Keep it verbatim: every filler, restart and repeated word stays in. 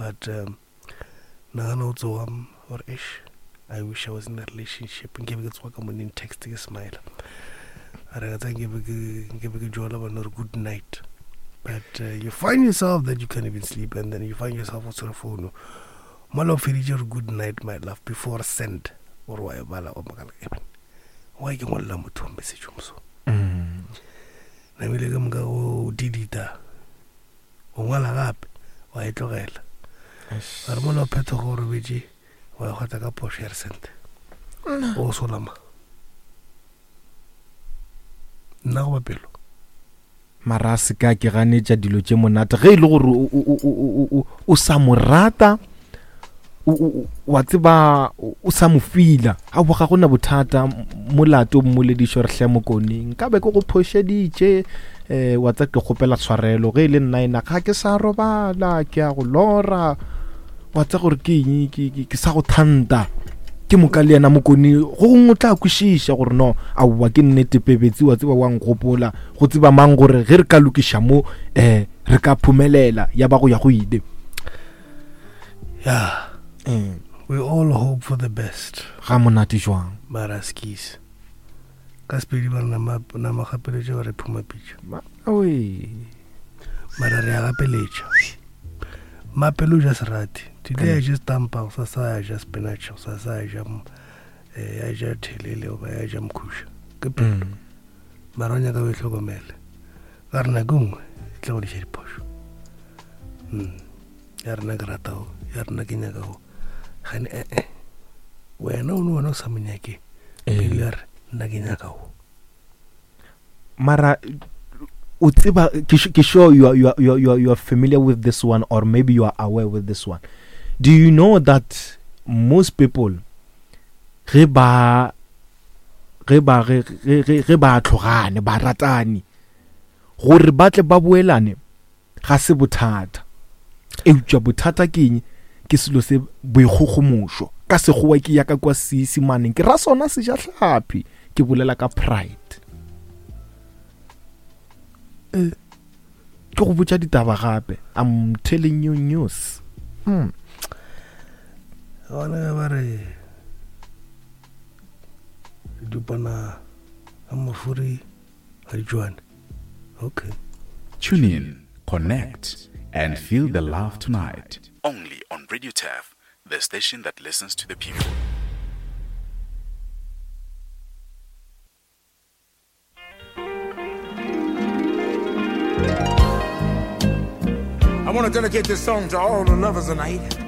But um, nagana o tsoga gore ish, I wish I was in a relationship. Nke be ke tsoga ka morning text ke smile. A re ka tsa nke be ke nke be ke jola bona gore good night. But uh, you find yourself that you can't even sleep, and then you find yourself o tshwere phone. Mola o feditše gore good night my love before send gore wa e bala o makala eben why ke ngwalela motho wa message o moso. Mm. Namile ka moka o delete-a o ngwala gape wa e tlogela. Eish. Ga re mola o phethogo o robetše wa e kgotsa ka phošo ya re sente o solama nna goba pelo. Mara a se ka ke ganetša dilo tše monate ge e le gore o- o- o- o- o- o sa mo rata, o- o- o- wa tseba o o sa mo fila, aowa ga gona bothata. M-, molato o mmoledišo re hle mokone nka be ke go phošeditše, um wa tsa ke kgopela tshwarelo ge e le nna ena ga ke sa robala ke a go lora, wa tsa gore ke eng, ke, ke, ke sa go thanta. Ke moka le yena mokone go gongwe o tla kwešiša gore no aowa ke nnete pebetsi, wa tseba wa nkgopola, go tseba mang gore ge re ka lokiša mo, um re ka phumelela ya ba go ya go ile. Yeah. Mm. We all hope for the best. Ga monate jwang? Mara skis. Ka Sepedi ba re nama, nama gapeletša ba re phuma pitša. Ma-, oi. Mara re a gapeletša. Mapelo o ja serati. Today I just stampa, gosasa a ja spinach, gosasa a ja m-, eh, a ja thelele goba a ja mokhuša. Ke pelo. Mm. Mara o nyaka o e hlokomele. Ka re nako nngwe e tla go diša diphošo. Mm. Ya rena ke rata go, ya rena ke nyaka go. Gane, eh, eh. Wena o ne wena o sa mo nyake. Eh. Pelo ya re, nna ke nyaka go. Mara o tseba, ke su-, ke sure you are, you are, you are, you are, you are familiar with this one, or maybe you are aware with this one. Do you know that most people ge ba, ge ba, ge, ge, ge, ge ba tlogane, ba ratane, gore ba tle ba boelane ga se bothata. Eupša bothata ke eng? Ke selo se boikgogomošo. Ka sekgowa ke ya ka kwa Seesimaneng, ke ra sona sejatlhapi, ke bolela ka pride. Eh. Ke go botša ditaba gape. I'm telling you news. Hmm. Gona ge ba re dupana ga mafuri ga di tšwane. Okay. Tune in, connect, and feel the love tonight. Only on Radio Turf, the station that listens to the people. I wanna dedicate this song to all the lovers tonight.